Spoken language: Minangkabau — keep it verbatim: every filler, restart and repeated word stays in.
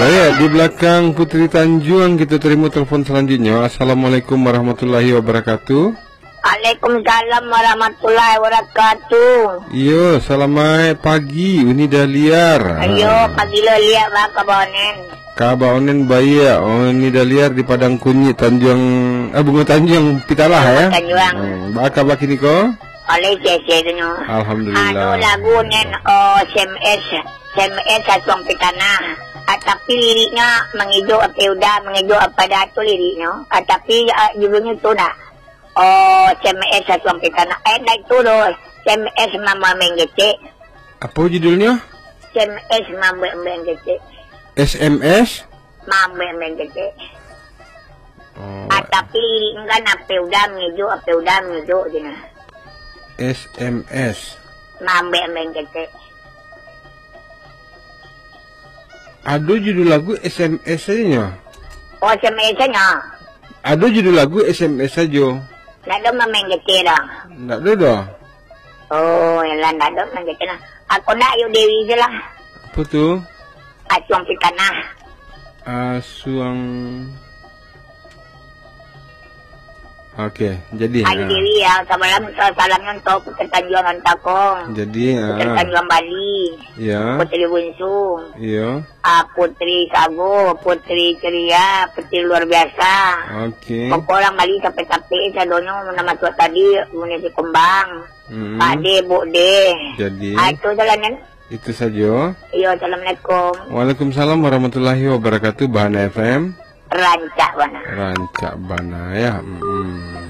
Baik, di belakang Putri Tanjuang, kita terima telepon selanjutnya. Assalamualaikum warahmatullahi wabarakatuh. Waalaikumsalam warahmatullahi wabarakatuh. Iyo, salamaik pagi, Uni Dahliar. Iyo, pagi lo liak, ba, kaba Onen? Kaba Onen baiak, Uni Dahliar di Padang Kunyik, Tanjuang, eh, Bungo Tanjuang, Pitalah, Bungo ya? Tanjuang. Hmm, ba kaba kini ko? Oleh C C tu nyo. Alhamdulillah. Anu lagu Nen, oh, S M S, S M S Asuang Pitanah. Ah, tapi liriknya mengejok apa udah, mengejok apa dah tu liriknya. Ah, tapi, ah, judulnya tu nak. Oh, S M S Asuang Pitanah. Eh, ndak itu doh. S M S Mambek-mbek Kecek. Apa judulnya? S M S Mambek-mbek Kecek. S M S? Mambek-mbek Kecek. Oh. Ah, tapi lirik kan apa udah mengejok, apa udah mengejok je nah. S M S. Mambek-mbek Kecek. Ado judul lagu S M S sajo nyo. Oh, S M S sajo. Ado judul lagu S M S sajo. Ndak ado main kecil dah. Ndak ado dah. Oh, yalah, ndak ado main kecil lah. Aku ndak, Ayu Dewi je lah. Apa tu? Asuang Pitanah. Asuang. Oke, jadi, Ayu ah. Dewi ya, salam, salamnya untuk Putri Tanjuang Rantakong. Jadi, Putri ah. Tanjuang Bali. Ya. Putri Bunsung. Iya. Ah, Putri Sago, Putri Ceria, Putri Luar Biasa. Oke. Pokok urang Bali capek-capek, sadonyo nan masuak tadi, Munisi Kumbang. Mm-mm. Pak De, Buk De. Jadi. Ah, itu salamnya. Itu sajo. Iyo, assalamualaikum. Waalaikumsalam warahmatullahi wabarakatuh, Bahana F M. Rancak bana. Rancak bana, ya. Mm-mm.